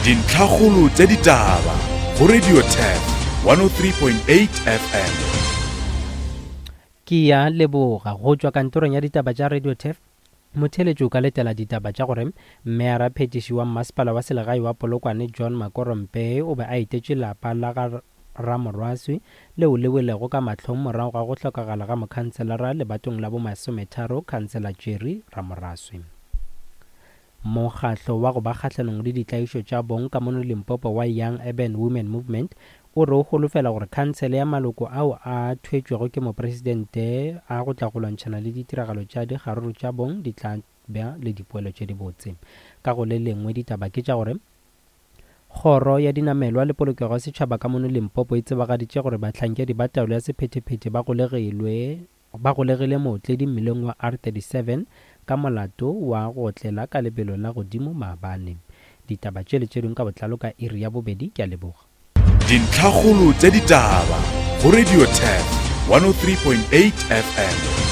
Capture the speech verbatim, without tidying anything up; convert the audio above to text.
Dintlhakgolo tša ditaba go Radio Turf one oh three point eight F M. Ke ya leboga go tšwa kantorong ya ditaba tša Radio Turf. Motheletši o ka letela ditaba tša gore mmeara phetiši wa mmasepala wa selegae wa Polokwane John Makorompe o be a etetše lapa la ga Ramorwaswi leo le welego ka mahlong morago ga go hlokagala ga mokhanselara lebatong la bomasometharo Khansela Jerry Ramoraswi. Mokgahlo wa go ba kgahlanong le ditlaišo tša bong ka mono Limpopo wa Young Urban Women Movement o re o holofela gore khansele ya maloko ao a thwetšwego ke mopresidente a go tla go lwantšhana le ditiragalo tša dikgaruru tša bong di tla ba le dipoelo tše dibotse. Ka go le lengwe ditaba ke tša gore Kgoro ya dinamelwa le polokego ya setšhaba ka mono Limpopo e tsebagaditše gore bahlankedi ba taolo ya sephethephethe ba golegilwe ba golegile mootledi mmileng wa R thirty-seven ka molato wa go otlela ka lebelo la godimo maabane. Ditaba tše le tše dingwe ka botlalo ka iri ya bobedi. Ke a leboga. Dintlhakgolo tša ditaba go Radio Turf one oh three point eight F M.